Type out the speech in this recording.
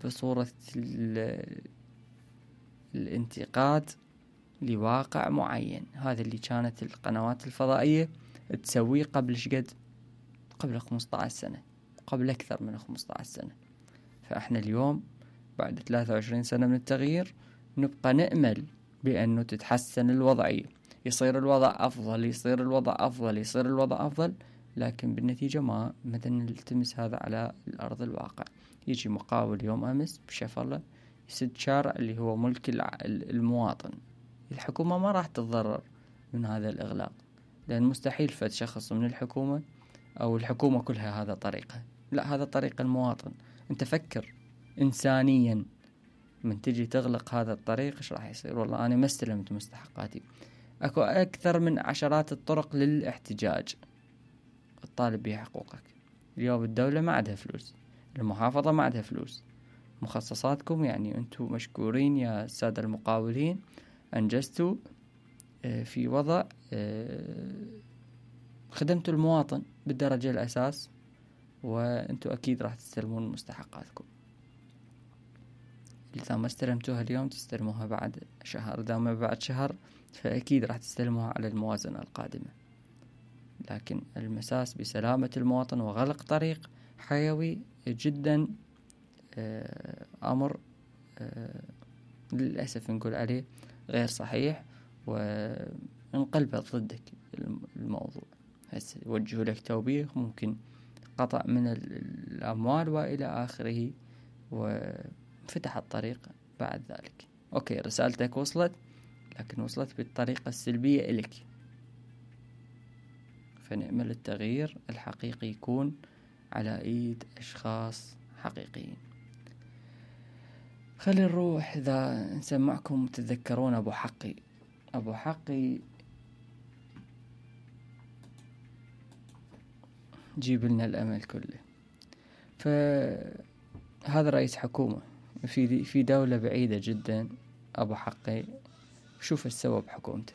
بصورة الانتقاد لواقع معين. هذا اللي كانت القنوات الفضائية تسويه قبل شقد؟ قبل 15 سنة، قبل أكثر من 15 سنة. فإحنا اليوم بعد 23 سنة من التغيير نبقى نأمل بأنه تتحسن الوضعية، يصير الوضع أفضل، يصير الوضع أفضل، يصير الوضع أفضل، لكن بالنتيجة ما نلتمس هذا على الأرض الواقع. يجي مقاول يوم أمس بشفرة يسد شارع اللي هو ملك المواطن. الحكومة ما راح تتضرر من هذا الإغلاق، لأن مستحيل فد شخص من الحكومة أو الحكومة كلها هذا طريقها، لا، هذا طريق المواطن. أنت فكر إنسانيا، من تجي تغلق هذا الطريق إيش راح يصير؟ والله أنا ما استلمت مستحقاتي. أكو أكثر من عشرات الطرق للاحتجاج الطالب بها حقوقك. اليوم الدولة ما عندها فلوس، المحافظة ما عندها فلوس، مخصصاتكم يعني أنتم مشكورين يا السادة المقاولين، أنجزتوا في وضع خدمتوا المواطن بالدرجة الأساس، وأنتم أكيد راح تستلمون مستحقاتكم. إذا ما استلمتوها اليوم تستلموها بعد شهر، إذا ما بعد شهر فأكيد راح تستلموها على الموازنة القادمة. لكن المساس بسلامة المواطن وغلق طريق حيوي جدا أمر للأسف نقول عليه غير صحيح، وانقلبت ضدك الموضوع. هسه يوجهوا لك توبيخ، ممكن قطع من الأموال وإلى آخره، وفتح الطريق بعد ذلك. أوكي، رسالتك وصلت، لكن وصلت بالطريقة السلبية إلك. فنأمل التغيير الحقيقي يكون على ايد اشخاص حقيقيين. خلي نروح اذا نسمعكم تتذكرون ابو حقي جيب لنا الامل كله. فهذا رئيس حكومة في دولة بعيدة جدا، ابو حقي، شوف ايش سوى بحكومته.